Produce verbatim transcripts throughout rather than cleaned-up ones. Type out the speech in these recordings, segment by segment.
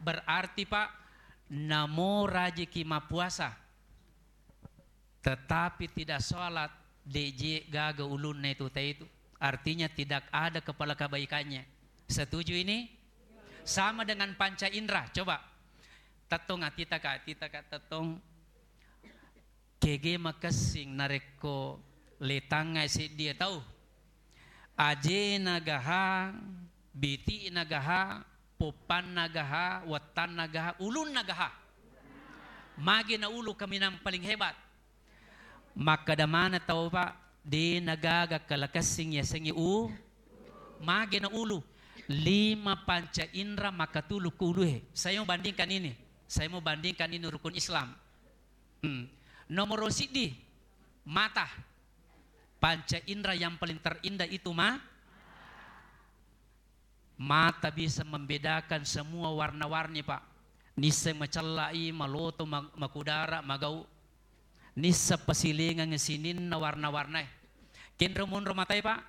Berarti, Pak, namo rajiki mappuasa, tetapi tidak sholat, de'je gaga ulunna itu taitu. Artinya tidak ada kepala kebaikannya. Setuju ini? Sama dengan panca indera. Coba. Tettong atitaka, atitaka tettong. Kege makessing narekko letangngai seddie tau. Ajena gaha, biti'na gaha, poppanna gaha, wettanna gaha, ulunna gaha. Mage na ulu kaminang paling hebat. Makkeda maneng tau, Pak, de nagaga kala kessing yasengnge u-, mage na ulu. Lima panca indra makkatulu ku ulue. Saya mau bandingkan ini. Saya mau bandingkan ini rukun Islam. Hmm. Nomor siddi, mata. Panca indra yang paling terindah itu ma-, mata bisa membedakan semua warna-warni, Pak. Nisseng macellai, maloto, ma-, makudara, magau. Nisseng pasilengeng sininna warna-warnae. Kenro monro matae, Pak?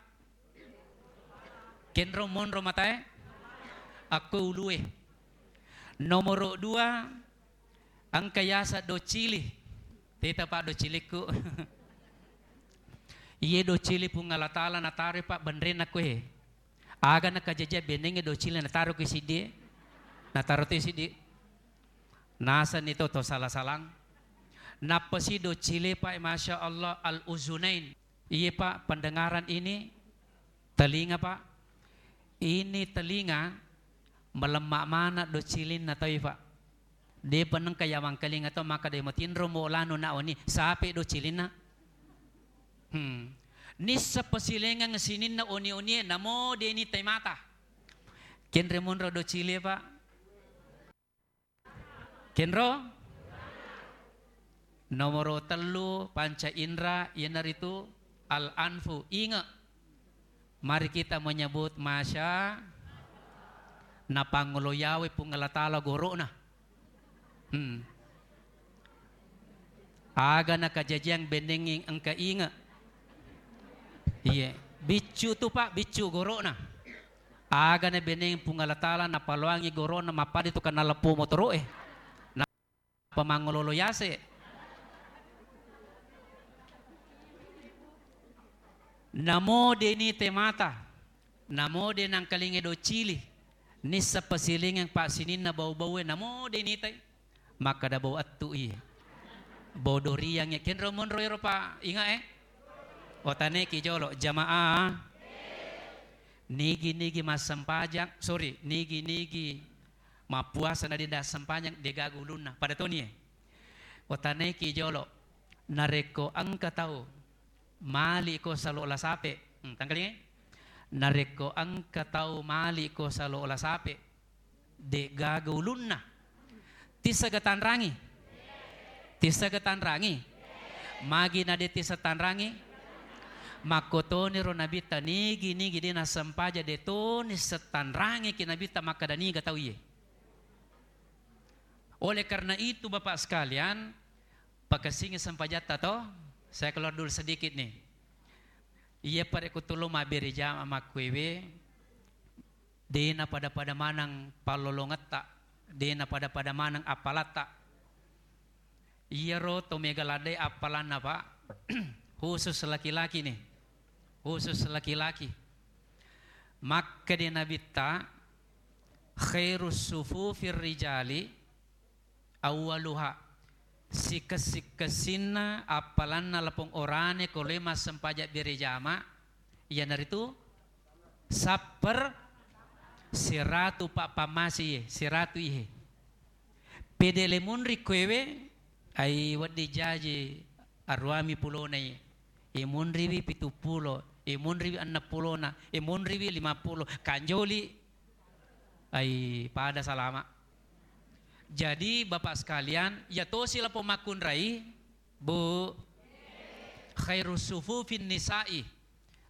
Kenro monro matae? Akko ulue. Nomor dua, engka yaseng docili. Teta, Pak, docilikku. Iye docili Puang Allah Taala nataro, Pak, benrenna koe. Aga nakajajiang benengnge docili nataro ki siddie? Nataro tu siddi. Nasenni to, to sala-salang. Nappa si docili, Pak, Masya Allah, al-uzunain. Iye, Pak, pendengaran ini, telinga, Pak. Ini telinga melemma mana docilinna taui, Pak. Depa nengka yamangkalinga tau makkeda matinro mo lanu na oni, sape docilinna. Hmm. Nissa pasilengeng sininna oni-onie namo deni tai mata. Kenre monro docili, Pak. Kenro? Nomoro tellu panca indra, iyanaritu al-anfu, inge. Mari kita menyebut masya, napangolo yawe Puang Allah Taala goro'na. Hmm. Aga nakajajiang benengngi engka inge. Iye, biccu tu, Pak, biccu goro'na. Aga na beneng Puang Allah Taala napaloangi gorona mappade tu kanna leppo motoro'e. Nappa mangololo yase. Namo deni te mata, namo de nangkalinge docili, nissa pasilingeng pa sininna bau-baue, namo deni tai. Makkeda bau ettu i. Bau doriang e. Kenro monro ero pa inga e. Otaneki jolo jamaah. Nigi-nigi massempajang, sorry, nigi-nigi mappuasa na de nassempajang, de gaga ulunna. Pada toni e. Otaneki jolo, narekko engka tau mali ko salo la sape. Hmm, tangkalingai? Narekko engka tau mali ko salo la sape, de gaga ulunna. Tissaga tanrangi? Tissaga tanrangi? Magi na de tissa tanrangi? Makkotoniro Nabitta nigi-nigi de nassempaja de toni settanrangiki Nabitta makkeda niga tau iye. Oleh karena itu, Bapak sekalian, pakessingi sempajatta to, saya keluar dulu sedikit nih. Iya, pada kutulung mabbere jama makkuewe, dena pada-pada maneng pallolongetta, dena pada-pada maneng appalatta. Iyaro to mega ladde appalanna, Pak, khusus laki-laki nih, khusus laki-laki. Makkede Nabitta, khairus sufufir rijali awwaluha, sikessi-kessinna appalanna lapong orane ko loi massempajang bere jama, iyanaritu sapper siratu pa-, pammasi ye, siratu ihe. Pede le munri koewe, ai wedding jaji aruami pulona ye. E munriwi pitu pulo, e munriwi enneng pulona, e munriwi lima pulo, kanjoli. Ai, pada salama. Jadi, Bapak sekalian, ya tosi lapong makkunrai, Bu, khairus sufufin nisa'i.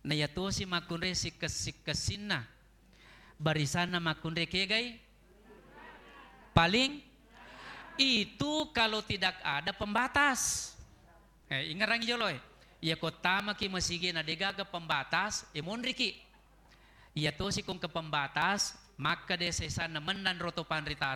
Na ya tosi makkunrai sikkes-sikkessinna. Barisanna makkunrai kegai? Paling itu kalau tidak ada pembatas. Eh, ingerangi jolo, eh. Iya ko tamaki masigi na degaga pembatas, e monriki. Iya tosi kong ke pembatas, makkeda sesanna mennang roto panrita